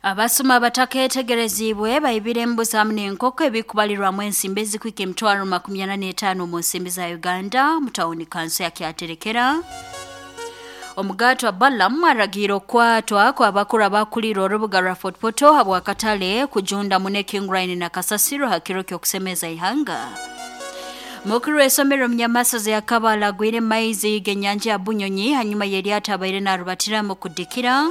Abasuma bataketegereziibwe baibire embuzi hamu n'enkoko ebikubalirwamu ensimbi ezikuhika 245,000 omu nsimbi za Uganda mu tawuni kanso ya Kyaterekera. Omugaatwa Balaam aragiire okukwatwa kw'abakuru abakuliire orubuga rwa Fort Portal habw'akatale kujunda muno ekinguraine na kasasiro ha kiro ky'okusemeza ihanga. Mukuru w'isomero Munyamasozi akaba alagwire maizi g'enyanja ya Bunyonyi hanyuma y'eryato abaire narubatiramu kudikira.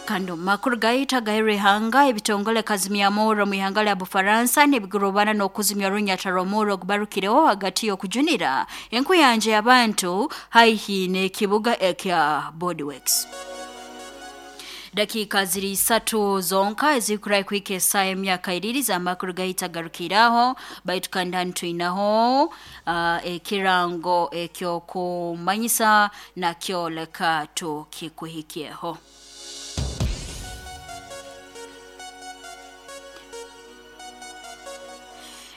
Kandi omu makuru gaitu agaheru ihanga, ebitongole kazimyamurro omu ihanga lya Bufaransa nibigurubana n'okuzimya orunyata rw'omurro ogubarukireho hagati y'okujunira enkuyanja y'abantu haihi n'ekibuga ekya Bordeaux. Dakiika ziri isatu zonka ezikurahi kuhika esaaha emyaka iriri z'amakuru gaitu agarukiraho, baitu kandi hanu twinaho ekirango ekyokumanyisa nakyo leka tukikuhikyeho.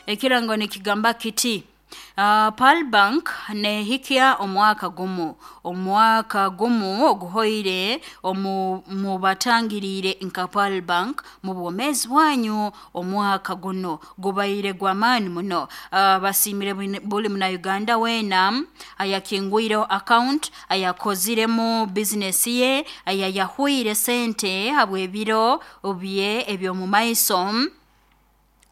Ekirango nikigamba kiti: Pearl Bank nehikya omwaka gumu, omwaka gumu oguhoire omu mubatangiriire nka Pearl Bank mu bwomeezi bwanyu. Omwaka guno gubaire gw'amaani muno. Basiimire buli muna Uganda weena ayakingwireho account, ayakoziremu bizinesi ye, ayayahwire sente habw'ebiro bye eby'omu maiso,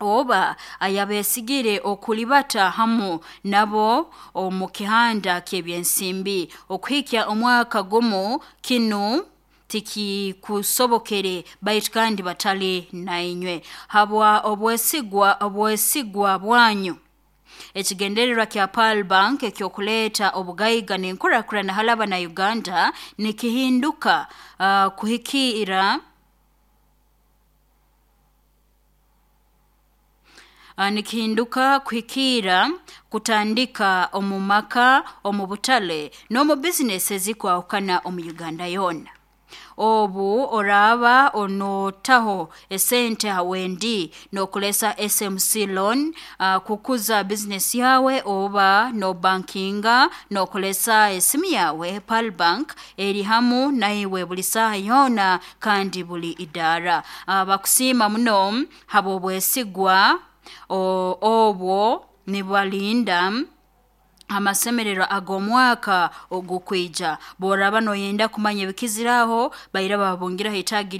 oba ayabesigire okulibata hamu nabo omu kihanda ky'ebyensimbi okuhikya omwaka gumu. Kinu tikikusobokere baitu kandi batali nainywe habwa obwesigwa bwanyu. Ekigendererwa kya Pearl Bank ekyokuleeta obugaiga n'enkurakurana halaba na Uganda nikihinduka kuhikira nikihinduka kuhikiira kutandika omu maka, omu butale n'omu bizinesi ezikwahukana omu Uganda yoona. Obu oraaba onotaho esente ha wendi n'okulesa SMC loan kukuza bizinesi yawe, oba nobankinga n'okulesa esimu yawe, Pearl Bank eri hamu naiwe buli saaha yoona kandi buli idaara. Bakusiima muno habw'obwesigwa obwo nibalinda amasemererwa ag'omwaka ogukwija. Bworaba noyenda kumanya ebikiziraho, baira babungira ha itaagi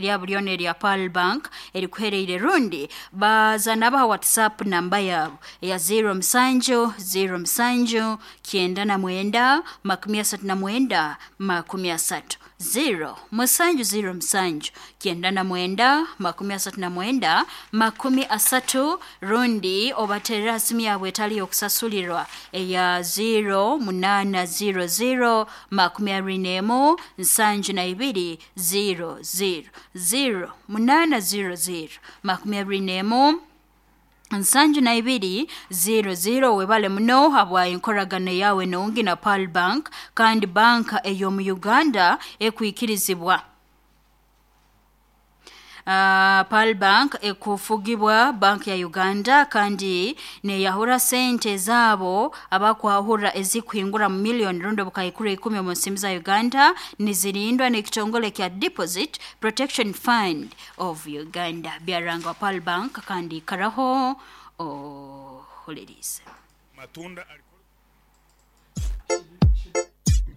lyabo lyona erya Pearl Bank erikuhereire, rundi baza nabaha WhatsApp namba yabo eya 07 07 99 39 30, 0 7 07 99 39 30, rundi obaterera ha simu yabwe etali y'okusasulirwa eya 0 8 0 0 21 72 0 0, 0 8 0 0 21 72 0 0. Webale muno habwa enkoragana yawe nungi na Pearl Bank, kandi banka ey'omu Uganda ekwikirizibwa. Pearl Bank ekufugibwa Bank ya Uganda kandi neyahura sente zabo abakwahura ezikuhingura mu miliyoni rundi obukaikuru 10 omu nsimbi za Uganda, nizirindwa n'ekitongole kya Deposit Protection Fund of Uganda. Byarangwa Pearl Bank, kandi ikaraho ohulirize. Matunda.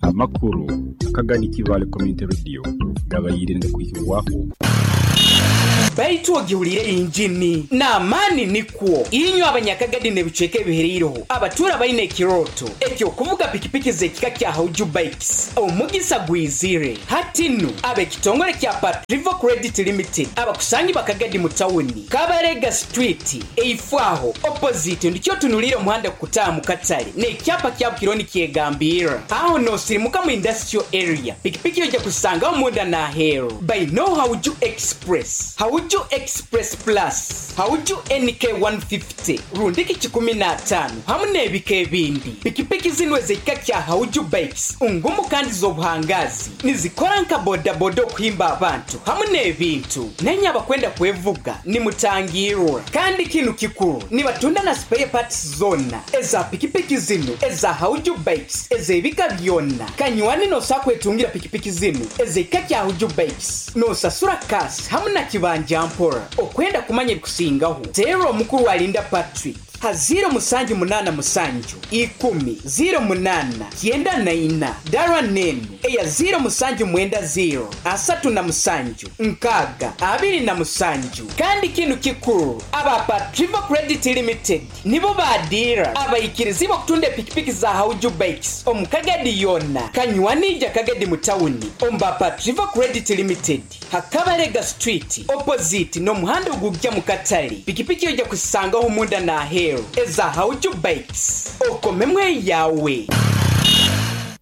Amakuru akagani Kibale Community Radio gabaire nigakwihibwaho. Baitu ogiwulire injini n'amaani nikwo inywe abanyakagadi n'ebicweka ebihereireho abatuura baine ekirooto ekyokuvuga pikipiki z'ekika kya Hauju Bikes. Omugisa gwizire hati nu ab'ekitongole kya Patrivo Credit Limited abakusangi bakagadi mu tawuni Kabarega Street eifo aho opposite ndikyo otunuliire omuhanda kukutaaha mu katale n'ekyapa kyabo kiriho nikyegambirra aho n'osirimuka mu industrial area. Pikipiki ojja kusangaho munda n'aheeru. Baine Hauju Express. Express, Hauju Express Plus, Hauju NK 150 rundiki 15 hamu n'ebika ebindi. Pikipiki zinu ez'ekika kya Hauju Bikes ngumu kandi z'obuhangazi, nizikora nka bodaboda okuhimba abantu hamu n'ebintu. Nainye abakwenda kwevuga nimutangirwa. Kandi kinu kikuru, nibatunda na spare parts zoona eza pikipiki zinu eza Hauju Bikes ez'ebika byona. Kanywani nosobola kwetungira pikipiki zinu ez'ekika kya Hauju Bikes, nosasura cash hamu na kibanja mpora. Okwenda kumanya ebikusingaho, teera omukuru Alinda Patrick ha 0787 10 08 94, dara nenu eya 0790 37 6 27. Kandi kinu kikuru, aba Patriva Credit Limited nibo badira abaikirizi okutunda epikipiki za Hauju Bikes omu Kagadi yona. Kanywanija Kagadi mu tawuni omu Patriva Credit Limited, Hakabalega Street opposite n'omuhanda ogujja mu katale. Pikipiki ojja kusangaho munda n'aheeru eza Hauju Bikes, okomemu eyawe.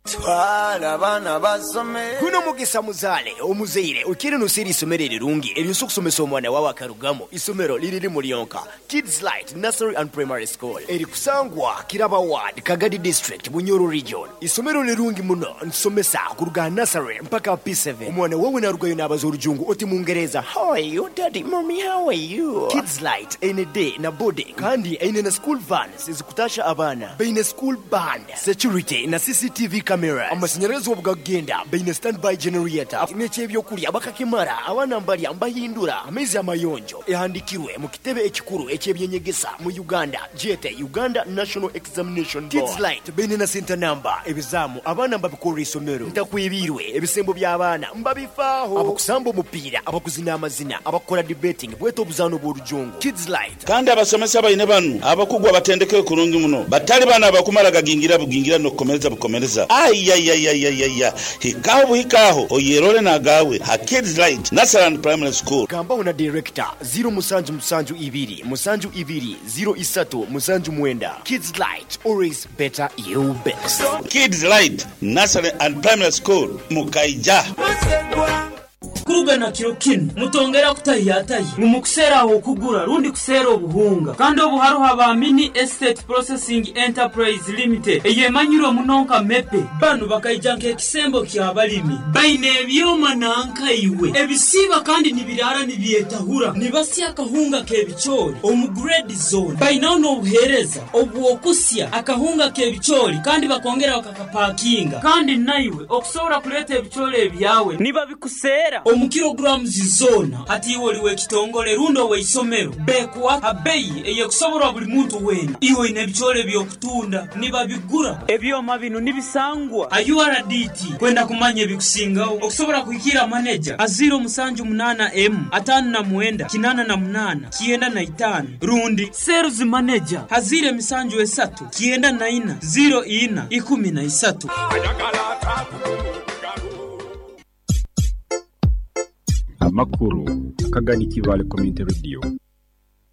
Twala abaana basome. Guno mugisa muzaale omuzaire okiire noseera isomero erirungi eryosobola okusomesa omwana wawe akarugamu. Isomero liri limu lyonka, Kids Light Nursery and Primary School, erikusangwa Kiraba Ward, Kagadi District, Bunyoro Region. Isomero lirungi muno, ntusomesa kuruga nursery mpaka P7. Omwana wawe narugayo nabaza orujungu oti mungereza, how are you daddy, mommy, how are you? Kids Light eine day na boarding, kandi eine na school vans ezikutasha abaana, baine school band, security na CCTV cameras, amashanyarazi obugagenda, baine standby generator, n'ekyebyokulya bakakimara, abaana mbalya mbahindura, amaizi amayonjo. Ehandikirwe mu kitebe ekikuru ekyebyenyegesa mu Uganda, jete Uganda National Examination Board. Kids Light baine na center number, ebizamu abaana mbabikorera isomero, ntakwibirwe ebisembo by'abaana mbabifaaho, abakusamba omupiira, abakuzina amazina, abakora debating, bweta obuzaano bw'orujungu. Kids Light. Kandi abasomesa baine banu abakugwa batendeke kurungi muno, batali bana abakumara gagingira bugingira n'okukomereza bukomereza. Ayayayayaya, hikaho buhikaho oyerole nagawe ha Kids Light Nursery and Primary School. Gambaho na director 0772 72 03 79. Kids Light, always better you best. Kids Light Nursery and Primary School Mukaija. Kurugana kiro kinu mutongera kutahiyatahi mumukuseera okugura rundi kuseera obuhunga, kandi obu haruho ba Mini Estate Processing Enterprise Limited eyemanyirwe muno nka Mepe. Banu bakaija nk'ekisembo ky'abalimi, baine ebyoma nankaiwe ebisiiba kandi nibirara nibyetahura, nibasya akahunga k'ebicoori omu grade zone. Bainaho n'obuheereza obw'okusya akahunga k'ebicoori kandi bakongera bakakapakinga, kandi naiwe okusobora kuleeta ebicoori ebyawe nibabikuseera omu kilograms zona. Hati iwe oli w'ekitongole rundi ow'eisomero, bekuwa abeyi eyekusoborwa buli muntu weena. Iwe oine ebicoori eby'okutunda nibabigura. Ebyoma bino nibisangwa a URDT. Kwenda kumanya ebikusingaho okusobora kuhikira maneja a 078 M 59 88 95 rundi sales manager a 073 94 04 13. Amakuru akagani Kibale Community Radio.